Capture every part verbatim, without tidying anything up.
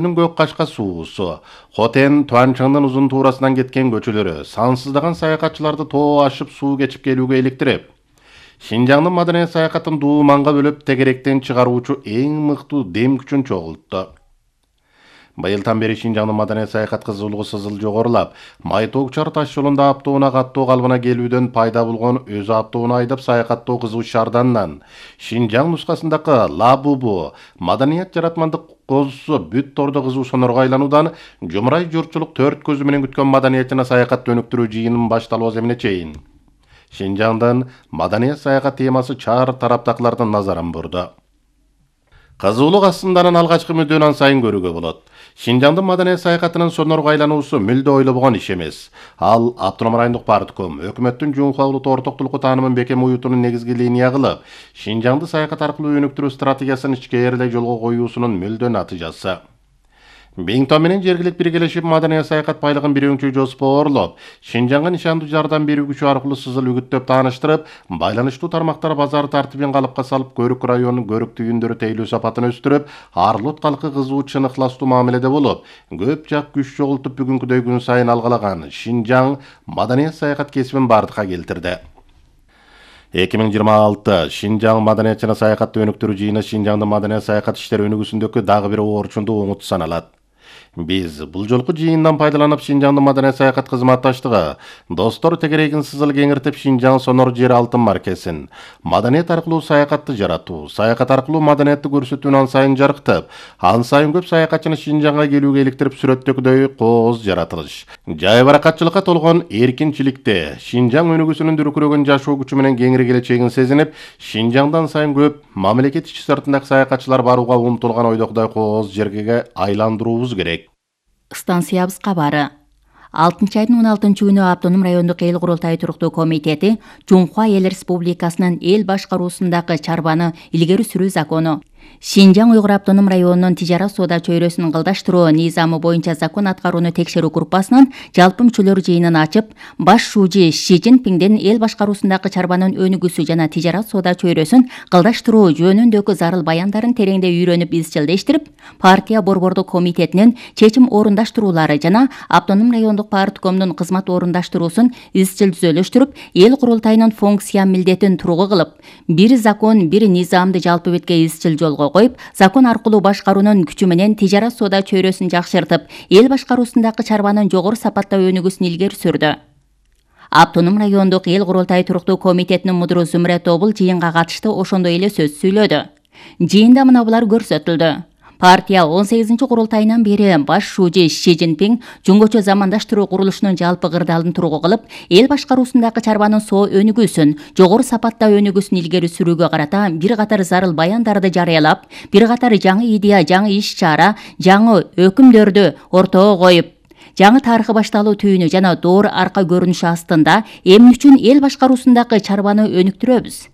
Көк Кашка суусу, Хотен Туанчаңдын узун туурасынан кеткен көчөлөрү сансыздаган саякатчыларды тоо ашып суу кечип келүүгө иликтирип, Шинжаңдын маданият саякатын дууманга бөлүп тегеректен чыгаруучу эң мыктуу дем күчүн чогултту. Быйылдан бери Шинжаңдын маданият саякат кызуулугу сызыл жогорулап, Майтоок-Чар таш жолунда автоунаа каттоо калыбына келүүдөн пайда болгон өз автоунаа айдап саякаттоо кызуу шаардандан Шинжаң нускасындагы Лабубу маданият жаратмандык козусу бүт тордо кызуу сонорго айлануудан жумурай журтчулук төрт көзү менен күткөн маданият жана саякатты өнүктүрүү жыйынын башталуу эмне чейин Шинжаңдын маданият саякат темасы чаар тараптакылардын назарын бурду. Кызуулук астынданын алгачкы мүддөөнөн сайын көрүүгө болот. Шинжаңдын маданият саякатынын сонорго айлануусу мүлдө ойлобогон иш эмес. Ал автоном райондук партком өкмөттүн Жумхуа улуттуу ортоктулукку таанымын бекем уютуунун негизги линия кылып, Шинжаңды саякат аркылуу өнүктүрүү стратегиясын ичкээрлей жолго коюусунун мүлдө натыйжасы. Биңтон менен жергилик биргелешип маданият саякат байлыгын бир өңчө жоспоорлоп, Шинжаңга нишандуу жардам берүү күчү аркылуу сызыл үгүттөп тааныштырып, байланыштуу тармактар базар тартибин калыпка салып, Көрүк районунун көрүк түйүндөрү тейлөө сапатын өстүрүп, Арлут калкы кызуу чын ыхластуу мамиледе болуп, көп жак күч чогултуп бүгүнкүдөй күн сайын алгалаган Шинжаң маданият саякат кесибин бардыкка келтирди. эки миң жыйырма алты Шинжаң маданият жана саякатты өнүктүрүү жыйыны Шинжаңдын маданият саякат иштери өнүгүүсүндөгү дагы бир орчундуу оңуту саналат. Биз бул жолку жыйындан пайдаланып Шинжаңдын маданият саякат кызматташтыгы, достор тегерегин сызыл кеңиртип Шинжаң сонор жер алтын маркесин, маданият аркылуу саякатты жаратуу, саякат аркылуу маданиятты көрсөтүүнү ан сайын жарыктып, ан сайын көп саякатчыны Шинжаңга келүүгө иликтирип сүрөттөгүдөй кооз жаратылыш. Жай баракатчылыкка толгон эркинчиликте Шинжаң өнүгүүсүнүн дүркүрөгөн жашоо күчү менен кеңири келечегин сезинип, Шинжаңдан сайын көп мамлекет ички сыртындагы саякатчылар барууга умтулган ойдогудай кооз жерге айландыруубуз керек. Станциябыз кабары. алтынчы айдын он алтынчы күнү Автоном райондук эл курултай туруктуу комитети Жумхуа эл республикасынын эл башкаруусундагы чарбаны илгери сүрүү закону, Шинжаң Уйгур автоном районунун тижарат соода чөйрөсүн кылдаштыруу низамы боюнча закон аткарууну текшерүү группасынын жалпы мүчөлөр жыйынын ачып, баш шужи Ши Цзиньпиндин эл башкаруусундагы чарбанын өнүгүүсү жана тижарат соода чөйрөсүн кылдаштыруу жөнүндөгү зарыл баяндарын тереңдей үйрөнүп изчилдештирип, партия борбордук комитетинин чечим орундаштыруулары жана автоном райондук парткомдун кызмат орундаштыруусун изчил түзөлүштүрүп, эл курултайынын функция милдетин тургу кылып, бир закон, бир низамды жалпы бетке изчил жолго коюп, закон аркылуу башкаруунун күчү менен тижарат соода чөйрөсүн жакшыртып, эл башкаруусундагы чарбанын жогору сапатта өнүгүүсүн илгери сүрдү. Автоном райондук эл курултай туруктуу комитетинин мудуру Зүмрөт Обул жыйынга катышты ошондой эле сөз сүйлөдү. Жыйында мына булар көрсөтүлдү. Партия он сегизинчи курултайынан бери баш шужи Ши Цзиньпин жөнгөчө замандаштыруу курулушунун жалпы кырдаалын тургу кылып, эл башкаруусундагы чарбанын соо өнүгүүсүн, жогору сапатта өнүгүүсүн илгери сүрүүгө карата бир катар зарыл баяндарды жарыялап, бир катар жаңы идея, жаңы иш-чара, жаңы өкүмдөрдү ортого коюп, жаңы тарыхы башталуу түйүнү жана доор арка көрүнүшү астында эмне үчүн эл башкаруусундагы чарбаны өнүктүрөбүз?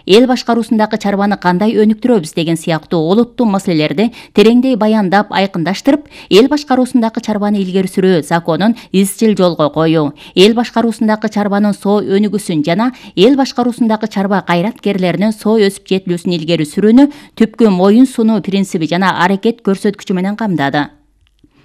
Эл башкаруусундагы чарбаны кандай өнүктүрөбүз деген сыяктуу олуттуу маселелерди тереңдей баяндап, айкындаштырып, эл башкаруусундагы чарбаны илгери сүрүү законун изчил жолго коюу, эл башкаруусундагы чарбанын соо өнүгүүсүн жана эл башкаруусундагы чарба кайраткерлеринин соо өсүп жетилүүсүн илгери сүрүүнү түпкү моюн сунуу принциби жана аракет көрсөткүчү менен камдады.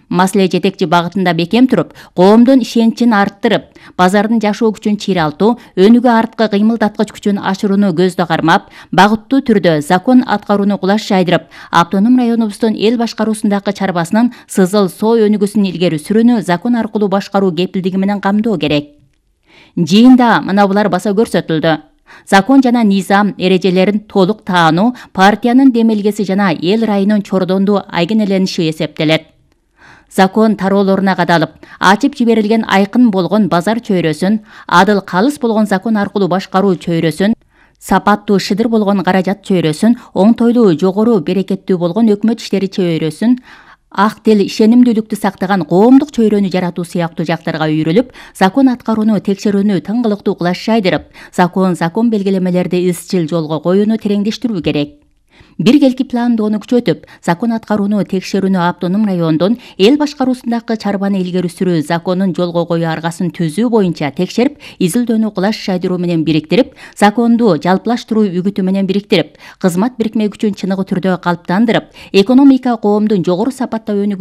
Маселе жетекчи багытында бекем туруп, коомдун ишеничин арттырып, базардын жашоо күчүн чыйралтуу, өнүгүү арткы кыймылдаткыч күчүн ашырууну көздө кармап, багыттуу түрдө закон аткарууну кулаш жайдырып, автоном районубуздун эл башкаруусундагы чарбасынын сызыл соо өнүгүүсүн илгери сүрүүнү закон аркылуу башкаруу кепилдиги менен камдоо керек. Жыйында мына булар баса көрсөтүлдү. Закон жана низам эрежелерин толук таануу партиянын демелгеси жана эл райынын чордондуу айгинелениши эсептелет. Закон тароолоруна кадалып, ачып жиберилген айкын болгон базар чөйрөсүн, адыл калыс болгон закон аркылуу башкаруу чөйрөсүн, сапаттуу шыдыр болгон каражат чөйрөсүн, оңтойлуу жогору берекеттүү болгон өкмөт иштери чөйрөсүн, ак тил, ишенимдүүлүктү сактаган коомдук чөйрөнү жаратуу сыяктуу жактарга үйрүлүп, закон аткарууну текшерүүнү тыңгылыктуу кулаш жайдырып, закон закон белгилемелерди изчил жолго коюуну тереңдештирүү керек. биргелки пландоону күчөтүп, закон аткарууну текшерүүнү автоном райондун эл башкаруусундагы чарбаны илгери сүрүү законун жолго коюу аргасын түзүү боюнча текшерип, изилдөөнү кулаш жайдыруу менен бириктирип, законду жалпылаштыруу үгүтү менен бириктирип, кызмат бирикме күчүн чыныгы түрдө калыптандырып, экономика коомдун жогору сапаттагы өнүгүүсүнө